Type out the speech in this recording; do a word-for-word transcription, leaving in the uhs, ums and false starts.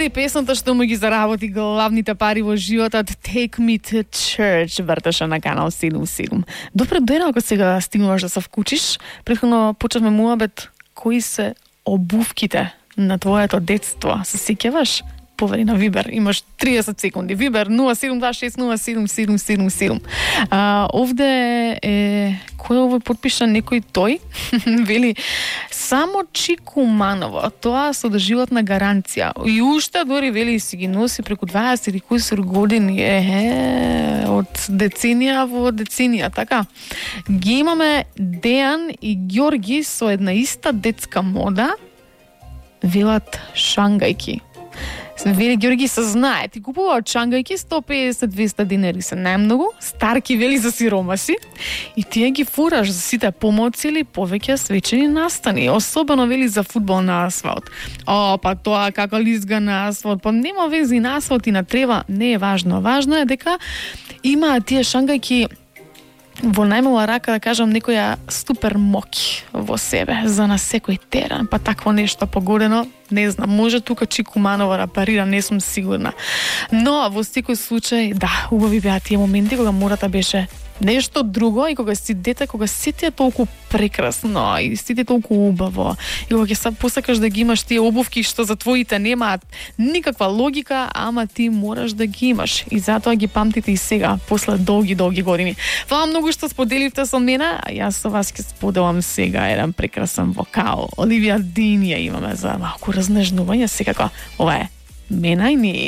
и песната што му ги заработи главните пари во животот, Take Me to Church, вртеше на канал седум седум. Добре ден ако сега стигнуваш да се вкучиш. Претходно почнавме муабет кои се обувките на твоето детство. Се сеќаваш? Повери на Вибер, имаш триесет секунди. Вибер нула седум два шест нула седум седум седум седум. А, овде е кој овој потпиша некој тој? Вели само Чикуманово, тоа со доживотна гаранција. И уште дори вели си ги носи преку дваесет и кои години. Е, од деценија во деценија, така. Ги имаме Дејан и Ѓорги со една иста детска мода. Велат шангајки. Вели Ѓорги се знае, ти купуваат чангајки сто песет до двеста динари се најмногу, старки вели за сиромаси и тие ги фураш за сите помоци или повеќе свечени настани, особено вели за фудбал на асфалт. О, па тоа како лизга на асфалт, па нема вези на асфалт и на трева, не е важно. Важно е дека има тие шангајки во најмала рака, да кажам, некоја супер моки во себе за на секој терен, па такво нешто погодено, не знам, може тука Чикуманова да парира, не сум сигурна. Но во секој случај, да, убави беа тие моменти кога мората беше нешто друго и кога си дете, кога сите е толку прекрасно и сите толку убаво и кога ќе се посакаш да ги имаш тие обувки што за твоите немаат никаква логика, ама ти мораш да ги имаш и затоа ги памтите и сега, после долги, долги години. Фала многу што споделивте со мене, а јас со вас ќе споделам сега еден прекрасен вокал. Оливија Дин ја имаме за малку разнежнување, секако ова е Men I Need.